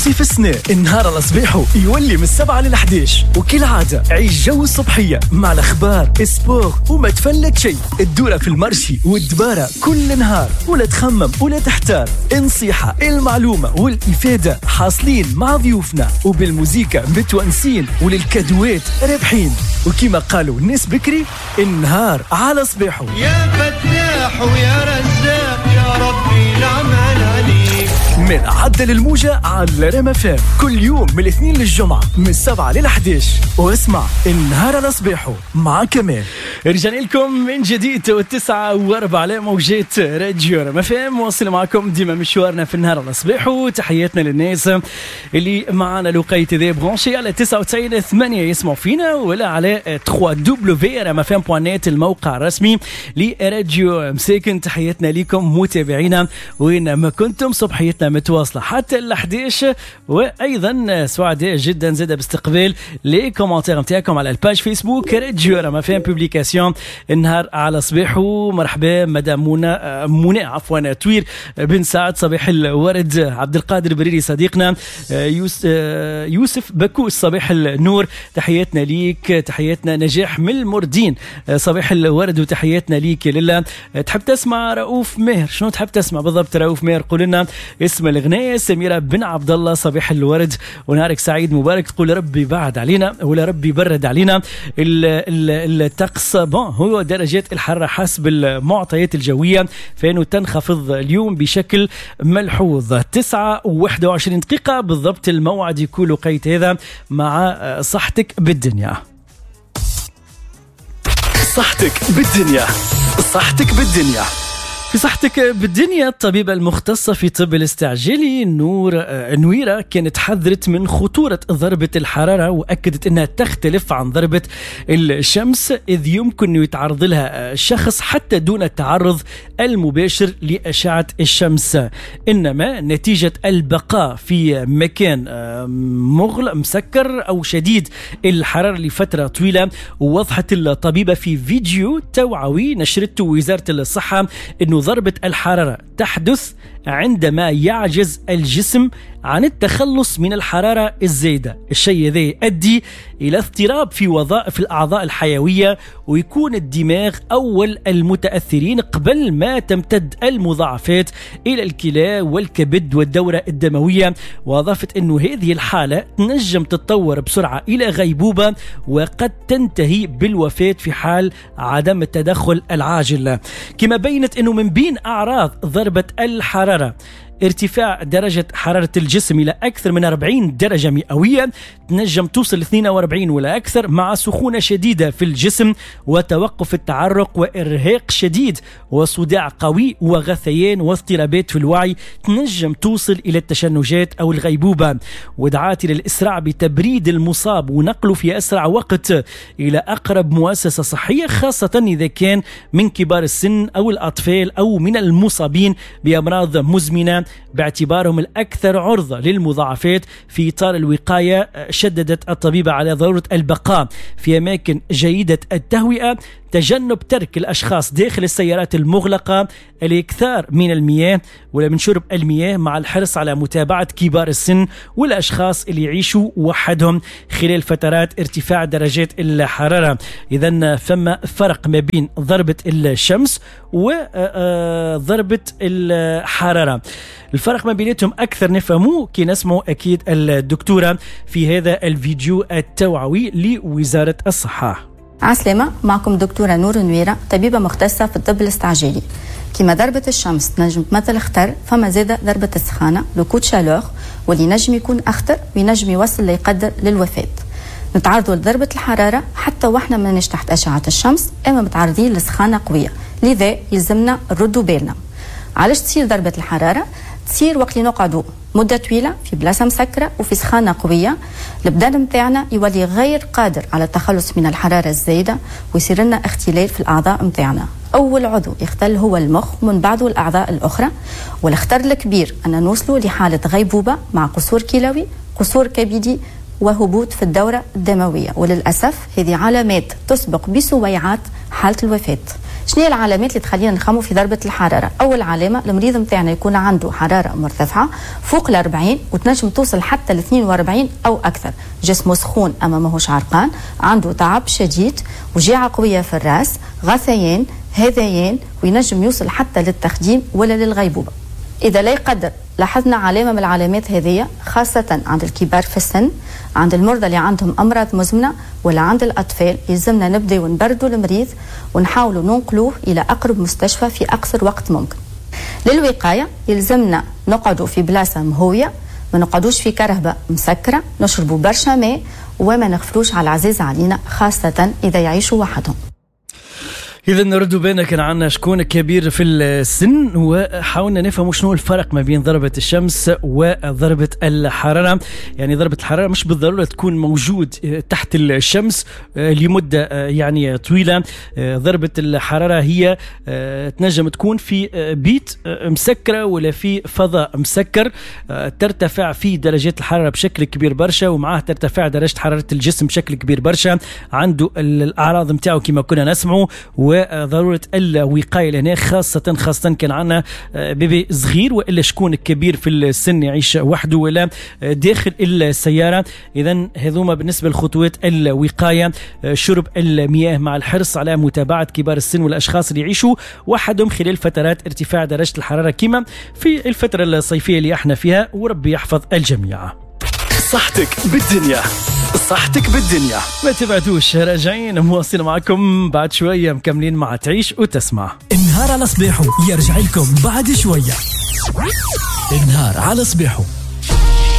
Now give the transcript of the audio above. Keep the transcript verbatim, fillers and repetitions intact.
صيف السنة النهار على صباحه يولي من السبعة للحداش، وكالعادة عيش جو الصبحية مع الأخبار sport وما تفلت شيء. الدورة في ال marché والدبارة كل نهار، ولا تخمم ولا تحتار. النصيحة المعلومة والإفادة حاصلين مع ضيوفنا، وبالموزيكا متونسين وللكادوات رابحين. وكما قالوا الناس بكري، النهار على صباحه. يا فتاح ويا رزاق يا ربي نعمل عليك. من عدل الموجة على رام فام كل يوم من الاثنين للجمعة من السبعة للحداش، واسمع النهار على صباحه مع كمال. رجعنا لكم من جديد والتسعة واربعة على موجات راديو رام فام، واصل معكم ديما مشوارنا في النهار على صباحه. تحياتنا للناس اللي معنا لقيت ذي branchés على تسعة وتسعين ثمانية يسمعوا فينا، ولا على ثلاثة W رام فام point net الموقع الرسمي لراديو مساكن. تحياتنا لكم متابعينا وين ما كنتم، صبحيتنا متواصلة حتى الحداش. وأيضا سعداء جدا زاد باستقبال les commentaires نتاعكم على ال page فيسبوك راديو رام فام publication النهار على صباحه. مرحبا مدام منى منى عفوا توير بن سعد، صباح الورد. عبد القادر بريري صديقنا، يوسف بكوس صباح النور، تحياتنا ليك. تحياتنا نجاح من المردين، صباح الورد وتحياتنا ليك. لله تحب تسمع رؤوف ماهر؟ شنو تحب تسمع بالضبط رؤوف ماهر؟ قول لنا اسم الغناية. سميرة بن عبد الله صباح الورد ونهارك سعيد مبارك. تقول ربي بعد علينا ولا ربي برد علينا الطقس. bon هو درجات الحرارة حسب المعطيات الجوية فإنه تنخفض اليوم بشكل ملحوظ. تسعة وواحد وعشرين دقيقة بالضبط الموعد يكون وقيت هذا مع صحتك بالدنيا. صحتك بالدنيا، صحتك بالدنيا. في صحتك بالدنيا الطبيبة المختصة في طب الاستعجالي نور نويرة كانت حذرت من خطورة ضربة الحرارة، وأكدت أنها تختلف عن ضربة الشمس، إذ يمكن أن يتعرض لها شخص حتى دون التعرض المباشر لأشعة الشمس، إنما نتيجة البقاء في مكان مغلق مسكر أو شديد الحرارة لفترة طويلة. ووضحت الطبيبة في فيديو توعوي نشرته وزارة الصحة أنه ضربة الحرارة تحدث عندما يعجز الجسم عن التخلص من الحرارة الزايدة، الشيء هذا يؤدي إلى اضطراب في وظائف الأعضاء الحيوية، ويكون الدماغ أول المتأثرين قبل ما تمتد المضاعفات إلى الكلى والكبد والدورة الدموية. وأضافت أنه هذه الحالة تنجم تتطور بسرعة إلى غيبوبة، وقد تنتهي بالوفاة في حال عدم التدخل العاجل. كما بينت أنه من بين أعراض ضربة الحرارة ارتفاع درجة حرارة الجسم إلى أكثر من أربعين درجة مئوية، تنجم توصل اثنين وأربعين ولا أكثر، مع سخونة شديدة في الجسم وتوقف التعرق وإرهاق شديد وصداع قوي وغثيان واضطرابات في الوعي، تنجم توصل إلى التشنجات أو الغيبوبة. ودعات إلى الإسراع بتبريد المصاب ونقله في أسرع وقت إلى أقرب مؤسسة صحية، خاصة إذا كان من كبار السن أو الأطفال أو من المصابين بأمراض مزمنة، باعتبارهم الأكثر عرضة للمضاعفات. في إطار الوقاية شددت الطبيبة على ضرورة البقاء في أماكن جيدة التهوئة، تجنب ترك الأشخاص داخل السيارات المغلقة، الإكثار من المياه ولا من شرب المياه، مع الحرص على متابعة كبار السن والأشخاص اللي يعيشوا وحدهم خلال فترات ارتفاع درجات الحرارة. إذن فما فرق ما بين ضربة الشمس وضربة الحرارة، الفرق ما بيناتهم أكثر نفهموه كي نسمعوا أكيد الدكتورة في هذا الفيديو التوعوي لوزارة الصحة. عسلامة، معكم دكتورة نور نويرة، طبيبة مختصة في الطب الاستعجالي. كما ضربة الشمس تنجم تمثل خطر، فما زادة ضربة السخانة le coup de chaleur، واللي نجم يكون أخطر وينجم يوصل ليقدر للوفاة. نتعرضوا لضربة الحرارة حتى واحنا ماناش تحت أشعة الشمس، أما متعرضين لسخانة قوية، لذا يلزمنا نردوا بالنا. علاش تصير ضربة الحرارة؟ تصير وقت اللي نقعدوا مدة طويلة في بلاصة مسكرة وفي سخانة قوية، البدن متاعنا يولي غير قادر على التخلص من الحرارة الزايدة، ويصير لنا اختلال في الأعضاء متاعنا. أول عضو يختل هو المخ ومن بعده الأعضاء الأخرى، والخطر الكبير أن نوصلوا لحالة غيبوبة مع قصور كلوي، قصور كبدي، وهبوط في الدورة الدموية. وللأسف هذه علامات تسبق بسويعات حالة الوفاة. شنو هي العلامات اللي تخلينا نخمو في ضربه الحرارة؟ اول علامة المريض نتاعنا يكون عنده حرارة مرتفعة فوق ال أربعين وتنجم توصل حتى ل اثنين وأربعين او اكثر، جسمه سخون اما ماهوش عرقان، عنده تعب شديد، وجيعه قوية في الراس، غثيان، هذيان، وينجم يوصل حتى للتخديم ولا للغيبوبه. اذا لا يقدر لاحظنا علامة من العلامات هذه، خاصة عند الكبار في السن، عند المرضى اللي عندهم امراض مزمنة، ولا عند الاطفال، يلزمنا نبداو ونبردوا المريض ونحاولوا ننقلوه الى اقرب مستشفى في اقصر وقت ممكن. للوقايه يلزمنا نقعدوا في بلاصة مهويه، ما نقعدوش في كرهبه مسكره، نشربوا برشا ماء، وما نغفلوش على العزيز علينا خاصة اذا يعيشوا وحدهم. إذا نردوا بالنا كان عندنا شكون كبير في السن، وحاولنا نفهم شنو الفرق ما بين ضربة الشمس وضربة الحرارة. يعني ضربة الحرارة مش بالضرورة تكون موجود تحت الشمس لمدة يعني طويلة. ضربة الحرارة هي تنجم تكون في بيت مسكرة ولا في فضاء مسكر، ترتفع فيه درجات الحرارة بشكل كبير برشا، ومعاه ترتفع درجة حرارة الجسم بشكل كبير برشا، عنده الأعراض متاعه كما كنا نسمعه، و ضرورة الوقاية لهنا خاصة خاصة كان عندنا bébé صغير وإلا شكون كبير في السن يعيش وحده ولا داخل السيارة. إذا هذوما بالنسبة لخطوات الوقاية: شرب المياه مع الحرص على متابعة كبار السن والأشخاص اللي يعيشوا وحدهم خلال فترات ارتفاع درجة الحرارة كما في الفترة الصيفية اللي احنا فيها، وربي يحفظ الجميع. صحتك بالدنيا، صحتك بالدنيا. ما تبعدوش، راجعين مواصلين معكم بعد شوية، مكملين مع تعيش وتسمع. النهار على صباحه يرجع لكم بعد شوية. النهار على صباحه.